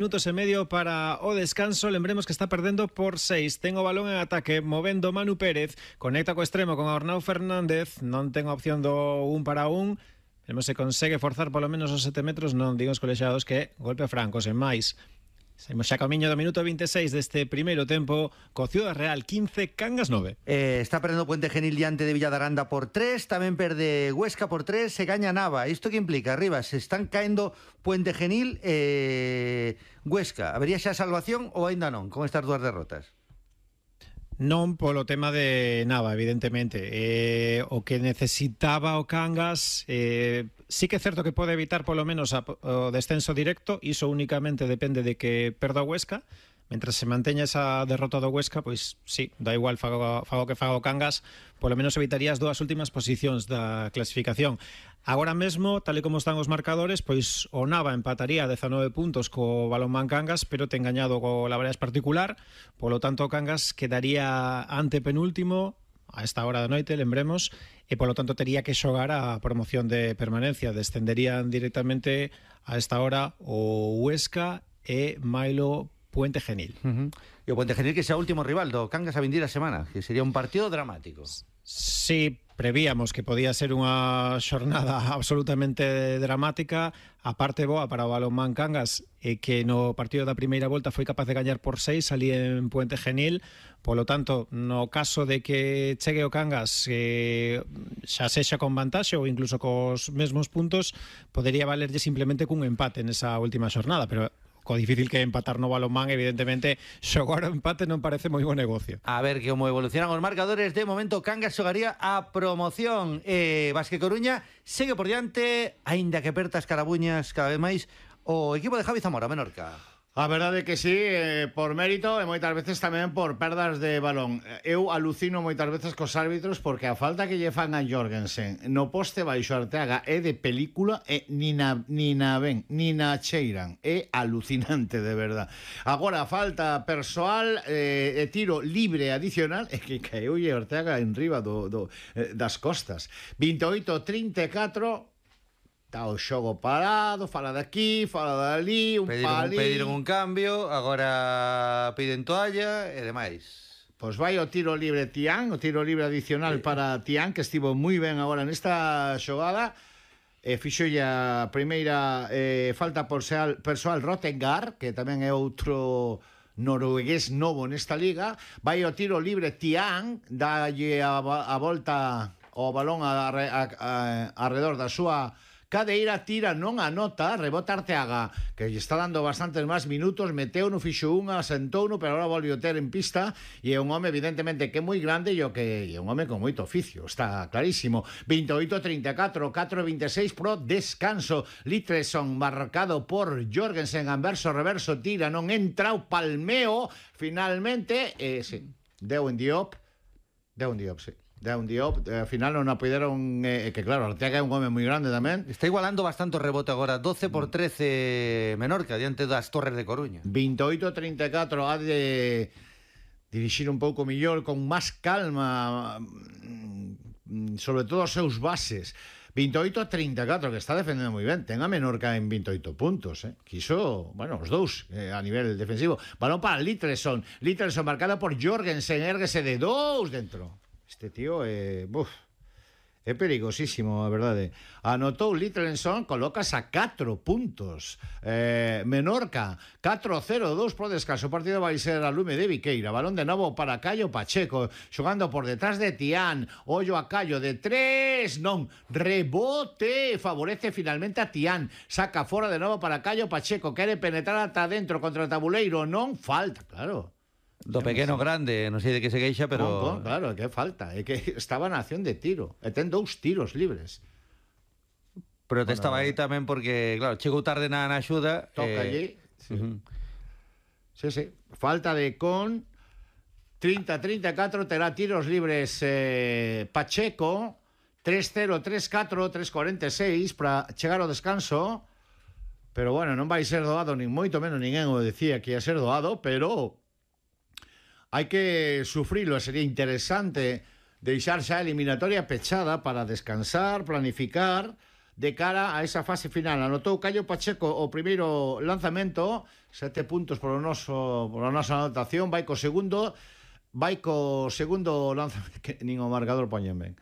Minutos e medio para o descanso. Lembremos que está perdendo por 6. Ten o balón en ataque, movendo Manu Pérez. Conecta co extremo con Arnau Fernández. Non ten opción do 1 para 1. Veremos se consegue forzar polo menos os 7 metros. Non digo os colexiados que golpe franco, sen máis. Saímos xa camiño do minuto 26 deste primeiro tempo co Ciudad Real 15, Cangas 9. Está perdendo Puente Genil diante de Villadaranda por 3, tamén perde Huesca por 3, se gaña Nava. Isto que implica, arriba, se están caendo Puente Genil Huesca. Habería xa salvación ou aínda non, con estas dúas derrotas? Non polo tema de Nava, evidentemente. O que necesitaba o Cangas, sí que é certo que pode evitar polo menos o descenso directo, iso únicamente depende de que perda o Huesca. Mentre se manteña esa derrota do Huesca, pois sí, da igual fago que faga o Cangas, polo menos evitaría as dúas últimas posicións da clasificación. Agora mesmo, tal e como están os marcadores, pois o Nava empataría 19 puntos co Balonmán Cangas, pero ten gañado co Labradas particular, polo tanto o Cangas quedaría ante penúltimo a esta hora da noite, lembremos, e polo tanto tería que xogar a promoción de permanencia. Descenderían directamente a esta hora o Huesca e Mailo Puente Genil. E o Puente Genil que xa o último rival do Cangas a vindir a semana, que sería un partido dramático. Sí, prevíamos que podía ser unha xornada absolutamente dramática. A parte boa para o Balonmán Cangas é que no partido da primeira volta foi capaz de gañar por 6 ali en Puente Genil. Polo tanto, no caso de que chegue o Cangas xa sexa con vantaxe ou incluso cos mesmos puntos, podería valerlle simplemente cun empate nesa última xornada, pero co difícil que é empatar no Balonmán, evidentemente xogar o empate non parece moi bo negocio. A ver como evolucionan os marcadores. De momento Cangas xogaría a promoción. Basque Coruña segue por diante, aínda que aperta as carabuñas cada vez máis o equipo de Javi Zamora, Menorca. A verdade que sí, por mérito e moitas veces tamén por perdas de balón. Eu alucino moitas veces cos árbitros porque a falta que lle fan a Jorgensen no poste baixo Arteaga é de película e ni na cheiran. É alucinante, de verdad. Agora, falta persoal e tiro libre adicional é que caeu Arteaga en riba das costas. 28-34. Está o xogo parado, fala de aquí, fala de ali, pediron un cambio, agora piden toalla e demais. Pois vai o tiro libre Tián, o tiro libre adicional para Tián, que estivo moi ben agora nesta xogada. Fixo a primeira falta persoal Rottengar, que tamén é outro noruegués novo nesta liga. Vai o tiro libre Tián, dalle a volta o balón arredor da súa cadeira, tira, non anota, rebota Arteaga, que lle está dando bastantes máis minutos, meteu no fixo unha, sentou no, pero agora volve a ter en pista, e é un home evidentemente que é moi grande e é un home con moito oficio, está clarísimo. 28-34, 4-26 pro descanso. Litleson marcado por Jorgensen, anverso, reverso, tira, non entra o palmeo, finalmente, sí, deu en Diop, sí. Down Diop, ao final non apoideron que claro, Arteaga é un home moi grande tamén. Está igualando bastante o rebote agora, 12 por 13 Menorca diante das Torres de Coruña. 28-34, ha de dirixir un pouco mellor, con máis calma, sobre todo os seus bases. 28-34, que está defendendo moi ben. Ten a Menorca en 28 puntos, Quiso, bueno, os dous a nivel defensivo. Balón para Litleson marcado por Jorgensen, érguese de 2 dentro. Este tío é perigosísimo, a verdade. Anotou Litleson, colocas a 4 puntos. Menorca 4-0-2 pro descanso. O partido vai ser a lume de Viqueira. Balón de novo para Caio Pacheco, xogando por detrás de Tián. Ollo a Caio de 3, non, rebote, favorece finalmente a Tián. Saca fora de novo para Caio Pacheco, quere penetrar ata dentro contra o tabuleiro, non falta, claro. Do pequeno grande, non sei de que se queixa, pero... Claro, que falta, é que estaba na acción de tiro, e ten 2 tiros libres. Protestaba aí tamén porque, claro, chegou tarde na axuda. Toca allí. Sí. Sí. Falta de con 30-34, terá tiros libres Pacheco, 3-0, 3-4, 3-46 para chegar ao descanso. Pero bueno, non vai ser doado, nin moito menos ninguén o decía que ia ser doado, pero hai que sufrilo. Sería interesante deixar xa a eliminatoria pechada para descansar, planificar de cara a esa fase final. Anotou Caio Pacheco o primeiro lanzamento, 7 puntos pola nosa anotación, vai co segundo lanzamento, que nin o marcador poñen ben.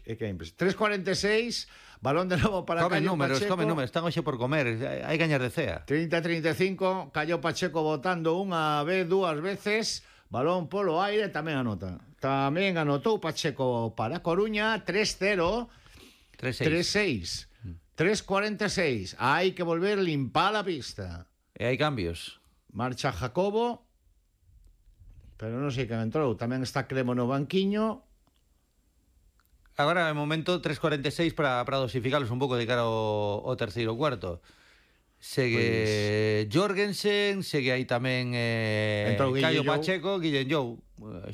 É que é impresionante. 3.46, balón de novo para Caio Pacheco. Come números, están hoxe por comer, hai gañas de cea. 30-35, Caio Pacheco botando unha vez, dúas veces, balón polo aire, tamén anota. Tamén anotou Pacheco para Coruña, 3-0, 3-6, 3-46. Hai que volver limpar a pista. E hai cambios. Marcha Jacobo, pero non sei quen entrou. Tamén está Cremo no banquiño. Agora, de momento, 3.46 para dosificarlos un pouco de cara ao terceiro cuarto. Segue Jorgensen, segue aí tamén Caio Pacheco, Guillén Jou,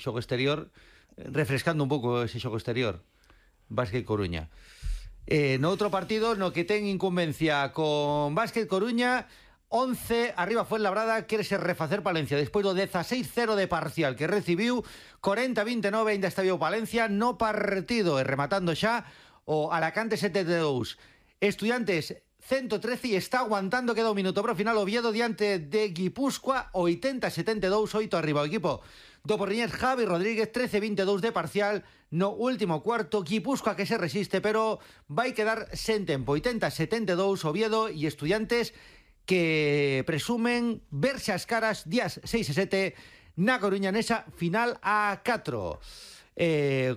xogo exterior, refrescando un pouco ese xogo exterior. Básquet Coruña. No outro partido, no que ten incumbencia con Básquet Coruña, 11, arriba Fuenlabrada, quérese refacer Palencia despois do 16-0 de parcial que recibiu, 40-29 ainda está vivo Palencia no partido, e rematando xa o Alacante 72. Estudiantes 113 e está aguantando, queda un minuto pro final. Oviedo diante de Guipúzcoa, 80-72, 8 arriba o equipo do Porriñés. Javi Rodríguez, 13-22 de parcial no último cuarto. Guipúzcoa que se resiste, pero vai quedar sen tempo. 80-72 Oviedo e Estudiantes, que presumen verse as caras días 6 e 7 na Coruña nesa final a 4. O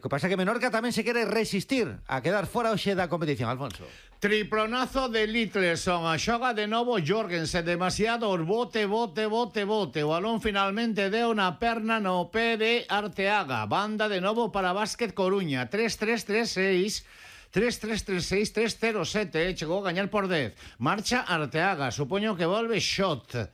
que pasa que Menorca tamén se quere resistir a quedar fora hoxe da competición, Alfonso. Triplonazo de Litleson, a xoga de novo Jorgensen, demasiado bote. O balón finalmente deu na perna no pé de Arteaga. Banda de novo para Básquet Coruña, 3-3-3-6. 3-3-3-6, 3-0-7, chegou a gañar por 10. Marcha Arteaga, supoño que volve shot.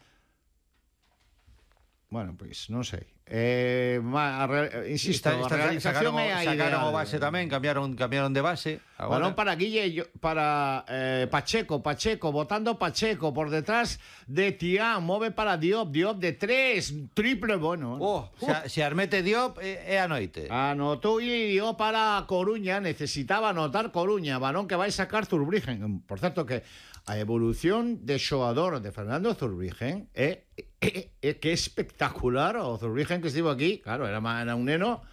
Bueno, pois, non sei. Insisto, a realización é a ideal. Sacaron o base tamén, cambiaron de base. Balón para Guille, para Pacheco, botando Pacheco por detrás de Tián, move para Diop de 3, triple, bueno. Se armete Diop é a noite. Anotou Diop para Coruña, necesitaba anotar Coruña, balón que vai sacar Zurbriggen. Por certo que a evolución de xogador de Fernando Zurbriggen é que espectacular. O Zurbriggen que estivo aquí, claro, era un neno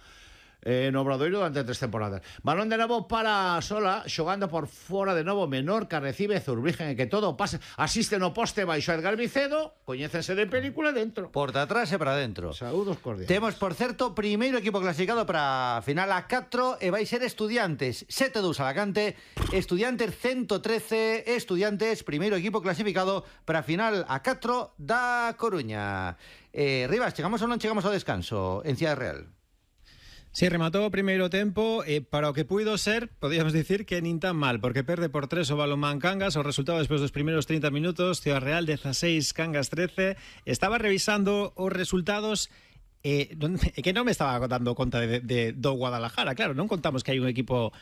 no Obradoiro durante 3 temporadas. Balón de novo para Sola, xogando por fora de novo. Menorca recibe Zurbriggen, e que todo pasa, asiste no poste baixo Edgar Vicedo, coñécense de película dentro. Porta atrás e para dentro. Saúdos cordiales. Temos, por certo, primeiro equipo clasificado para final a 4 e vai ser Estudiantes 7-2 Alacante, Estudiantes 113, Estudiantes, primeiro equipo clasificado para final a 4 da Coruña. Rivas, chegamos ou non chegamos ao descanso en Cidade Real? Sí, rematou o primeiro tempo e para o que puido ser, podíamos dicir que nin tan mal, porque perde por 3 o Balonmán Cangas. O resultado despois dos primeiros 30 minutos, Ciudad Real 16, Cangas 13. Estaba revisando os resultados que non me estaba dando conta do Guadalajara. Claro, non contamos que hai un equipo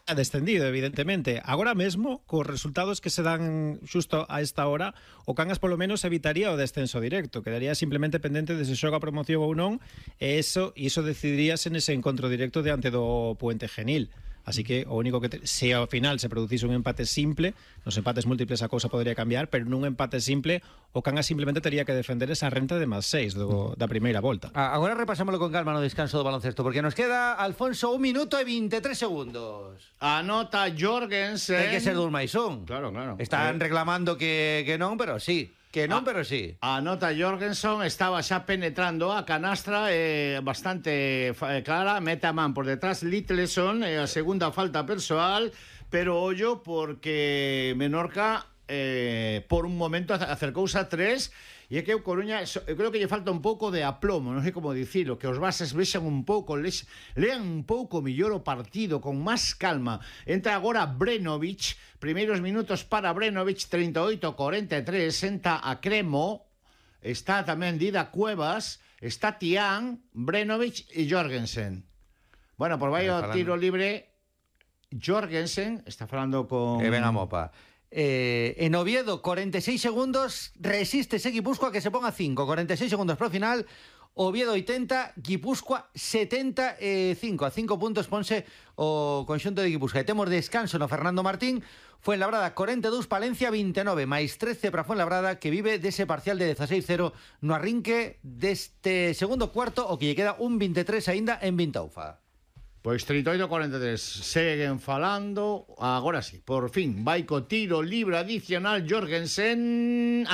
descendido, evidentemente. Agora mesmo, cos resultados que se dan xusto a esta hora, o Cangas polo menos evitaría o descenso directo. Quedaría simplemente pendente de se xoga a promoción ou non, e iso decidiríase nese encontro directo diante do Puente Genil. Así que o único que se ao final se producise un empate simple, nos empates múltiples a cousa podría cambiar, pero nun empate simple o Cangas simplemente tería que defender esa renta de más 6 da primeira volta. Agora repasámoslo con calma no descanso do baloncesto, porque nos queda, Alfonso, 1 minuto e 23 segundos. Anota Jorgensen. Ten que ser dun máis un. Claro. Están reclamando que non, pero sí. Que non, pero sí. Anota Jorgensen, estaba xa penetrando a canastra bastante clara, mete a man por detrás Litleson, a segunda falta persoal, pero ollo porque Menorca por un momento acercouse a 3. E é que o Coruña, eu creo que lle falta un pouco de aplomo, non sei como dicilo, que os bases vexan un pouco, lean un pouco mellor o partido, con máis calma. Entra agora Brenovic, primeiros minutos para Brenovic, 38-43, senta a Cremo, está tamén Dida Cuevas, está Tián, Brenovic e Jorgensen. Bueno, por vai o tiro libre, Jorgensen, está falando con... E ven a mopa. En Oviedo, 46 segundos, resiste ese Guipúzcoa que se ponga 5, 46 segundos pro final. Oviedo 80, Guipúzcoa 75. A 5 puntos ponse o conxunto de Guipúzcoa. E temos descanso no Fernando Martín. Fuenlabrada 42, Palencia 29, máis 13 para Fuenlabrada, que vive dese parcial de 16-0 no arrinque deste segundo cuarto, o que lle queda un 23 aínda en Vintaufa. Pois 38-43, seguen falando. Agora sí, por fin, vai co tiro libre adicional Jorgensen.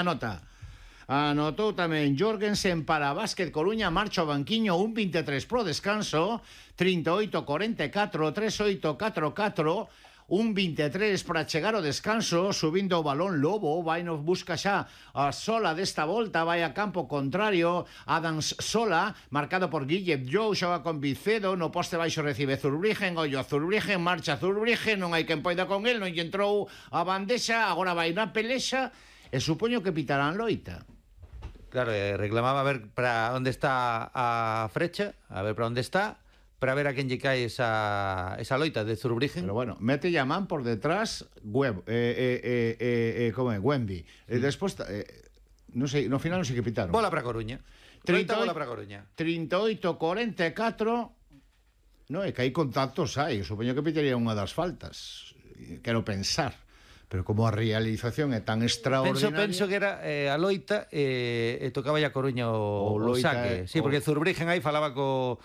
Anotou tamén Jorgensen para Básquet Coruña, marcha ao banquiño, un 23 pro descanso, 38-44, 38-44, un 23 para chegar ao descanso, subindo o balón Lobo, vai nos busca xa a Sola desta volta, vai a campo contrario, Adams Sola, marcado por Guille Jou, xoga con Vicedo, no poste baixo recibe Zurbrigen, ollo a Zurbrigen, marcha Zurbrigen, non hai quen poida con el, non lle entrou a bandexa, agora vai na pelexa, e supoño que pitarán loita. Claro, reclamaba a ver para onde está a frecha, a ver para onde está, para ver a quen lle cae esa loita de Zurbrigen. Pero bueno, mete a man por detrás como é, Wemby. Despois, non sei, no final non sei que pitaron. Bola para Coruña. 38, bola para Coruña. 38-44. No, é que hai contactos hai. Supoño que pitaría unha das faltas. Quero pensar. Pero como a realización é tan extraordinaria... Penso que era a loita e tocaba a Coruña o saque. Sí, porque Zurbrigen aí falaba co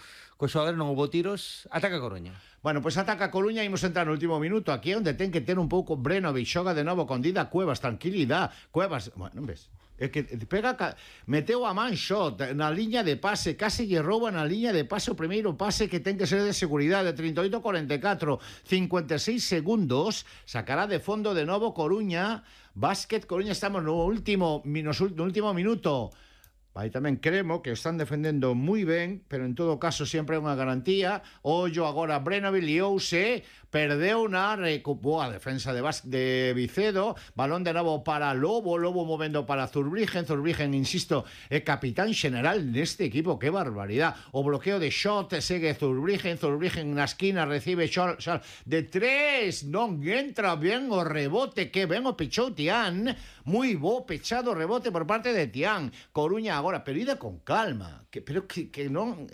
xogador, non houve tiros, ataca a Coruña. Bueno, pois ataca a Coruña, imos entrar no último minuto. Aquí é onde ten que ter un pouco Brenovic, xoga de novo con Dida Cuevas, tranquilidade. Cuevas, bueno, non ves? É que meteu a man shot na liña de pase, case lle rouba na liña de pase o primeiro pase, que ten que ser de seguridade. 38-44, 56 segundos, sacará de fondo de novo Coruña. Básquet Coruña, estamos no último minuto. Aí tamén cremo que están defendendo moi ben, pero en todo caso sempre é unha garantía. Ollo agora Brenovic liouse, perdeu na recuperou a defensa de Vicedo, balón de novo para Lobo movendo para Zurbrigen, insisto, é capitán xeneral neste equipo, que barbaridade. O bloqueo de shot segue Zurbrigen na esquina, recibe shot de 3, non entra ben o rebote, que ben o pechou Tián, moi bo pechado rebote por parte de Tián. Coruña agora, pero ida con calma, que non...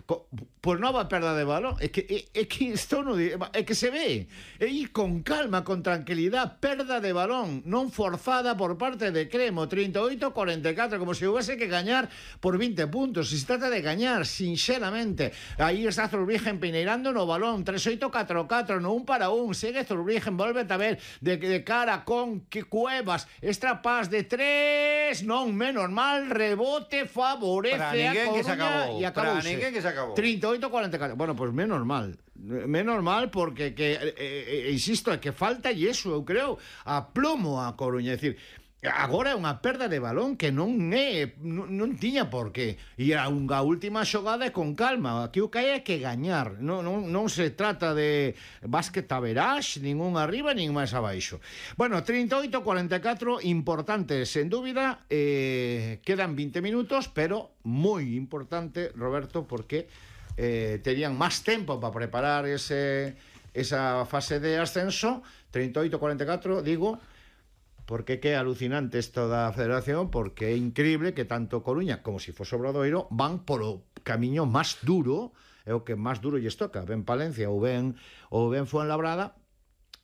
Por nova perda de balón, é que isto non, é que se ve, é ir con calma, con tranquilidade, perda de balón non forzada por parte de Cremo. 38-44, como se houvese que gañar por 20 puntos. Se trata de gañar sinceramente. Aí está Zurbrigen peineirando no balón, 38-44 no 1 para 1, segue Zurbrigen, volve a ver de cara con Cuevas, extrapás de 3, non, menos mal, rebote favorece a Coruña e acabouse. 38-44. Bueno, pues menos mal porque insisto, é que falta e iso, eu creo, a plomo a Coruña, é dicir, agora é unha perda de balón que non tiña por qué. E a última xogada é con calma. Aquí o que hai é que gañar. Non se trata de básquet a verás, nin un arriba, nin máis abaixo. Bueno, 38-44, importante, sen dúbida. Quedan 20 minutos, pero moi importante, Roberto, porque terían máis tempo para preparar esa fase de ascenso. 38-44, digo, porque que é alucinante isto da federación, porque é increíble que tanto Coruña como se fose Obradoiro van polo camiño máis duro, é o que máis duro lles toca, ben Palencia ou ben Fuenlabrada.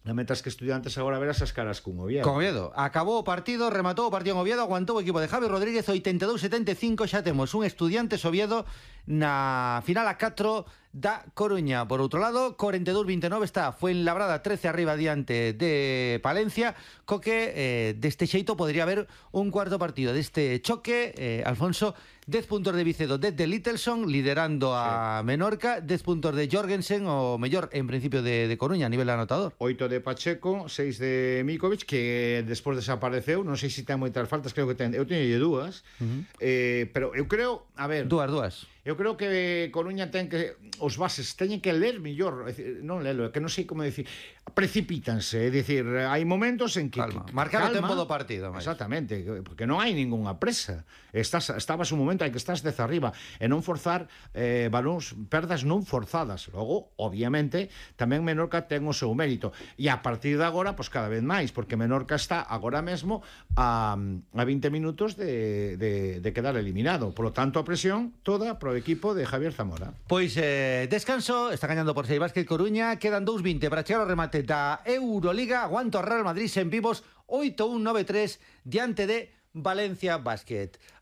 Mentras que Estudiantes agora verás as caras cun Oviedo. Con Oviedo. Acabou o partido, rematou o partido en Oviedo, aguantou o equipo de Javi Rodríguez, 82-75, xa temos un Estudiantes Oviedo na final a 4 da Coruña. Por outro lado, 42-29 está Fuenlabrada 13 arriba diante de Palencia, co que deste xeito podría haber un cuarto partido deste choque. Alfonso, 10 puntos de Vicedo, 10 de Littlesson, liderando a Menorca, 10 puntos de Jorgensen, o mellor, en principio, de Coruña, a nivel anotador. 8 de Pacheco, 6 de Mikovic, que despois desapareceu, non sei se ten moitas faltas, creo que ten, eu teño dúas, pero eu creo, a ver... Dúas. Eu creo que Coruña ten que... os bases teñen que ler mellor, non lelo, que non sei como decir, precipítanse, é dicir, hai momentos en que marcar o tempo do partido, máis. Exactamente, porque non hai ningunha presa. Estabas un momento en que estás desde arriba e non forzar balóns, perdas non forzadas. Logo, obviamente, tamén Menorca ten o seu mérito. E a partir de agora, pois cada vez máis, porque Menorca está agora mesmo a 20 minutos de quedar eliminado. Por lo tanto, a presión toda pro equipo de Javier Zamora. Pois descanso, está gañando por 6 Básquet Coruña, quedan 2:20 para chegar ao remate da Euroliga. Aguanta o Real Madrid en vivos 8-1-9-3 diante de Valencia Básquet.